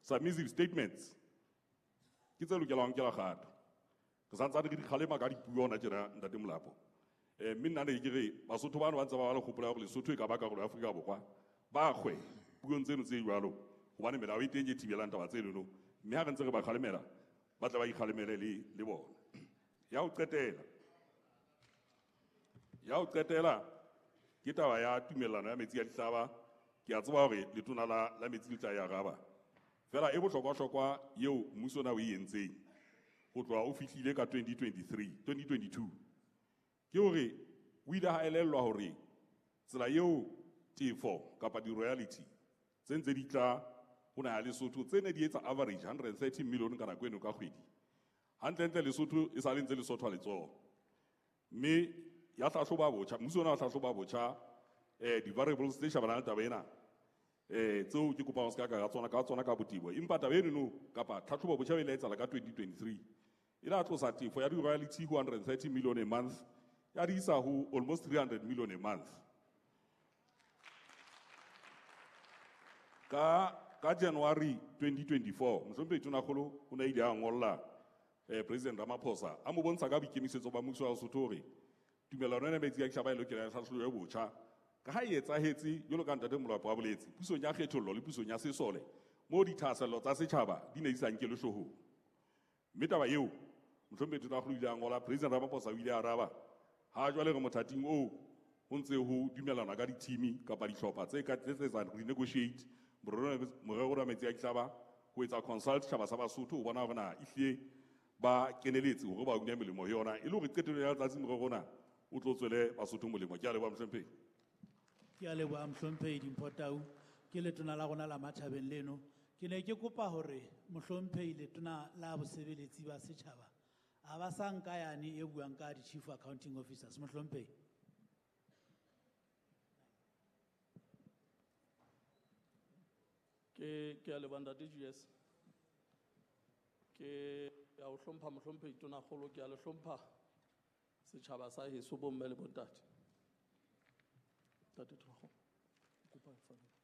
Submissive statements ke tse lokelang ho nkelwa kgato. Re santsane re di kgalema ka dipuo hona tjena ntate Molapo. Mme nna ne ke re Basotho bano ba ntse ba ba le kgopolo ya hore Lesotho e ka ba karolo ya Afrika Borwa, ba kgwe puong tseno tse jwalo, hobane melao e teng e thibelang taba tsenono, mme ha re ntse re ba kgalemela ba tle ba ikgalemele le bona. Ya ho qetela, ya ho qetela ke taba ya tumellano ya metsi a dihlaba. Ke a tseba hore letona la metsi le tla e araba, fela e bohlokwa-hlokwa eo mmuso ona o e entseng ho tloha o fihlile ka 2023, 2022, ke hore o ile ha elellwa hore tsela eo tefo kapa di-royalty tse ntse di tla ho naha ya Lesotho tse ne di etsa average 130 million ka nako eno ka kgwedi, hantlentle Lesotho e sa le ntse le sothwa letsoho. Mme ya hlahloba botjha, mmuso ona wa hlahloba botjha di-variables tse shebanang le taba ena, tseo ke kopang ho se ka ka tsona ka botebo. Empa taba enono kapa tlhatlhobo botjha e ile ya etsahala ka 2023, e la tlosa tefo ya di-royalty ho 130 million a month ya di isa ho almost 300 million a month. Ka January 2024, mohlomphehi Tonakgolo o ne a ile a ngolla President Ramaphosa a mo bontsha ka boikemisetso ba mmuso wa Lesotho hore tumellano ena metsi a ditjhaba e lokela ya hlahlobo e botjha, ka ha e etsahetse jwalo ka ntate Molapo a boletse, pusong ya kgethollo le pusong ya sesole moo dithahasello tsa setjhaba di ne di sa nkelwe hloohong. Mme taba eo mohlomphehi Tonakgolo o ile a ngola, President Ramaphosa o ile a araba, ha jwale re mothating oo ho ntse ho dumellanwa ka di-team kapa dihlopha tse ka tse etsang renegotiate morero wa metsi a dihlaba, ho etsa consult setjhaba sa Basotho ho bona hore na ehlile ba keneletse hore ba une melemo ho yona, e le hore qetellong ya letsatsi morero ona o tlo tswele Basotho molemo. Ke a leboha mohlomphehi. Ke a leboha mohlomphehi Dimpho Tau. Ke letona la rona la matjhabeng leno. Ke ne ke kopa hore mohlomphehi letona la bosebeletsi ba setjhaba a ba sa nka yane e buang ka di-chief accounting officers, mohlomphehi. Ke a leboha ntate Julius. Ke a o hlompha mohlomphehi Tonakgolo, ke a le hlompha setjhaba sa heso bomme le bontate. Ntate Tonakgolo, kopa e fane.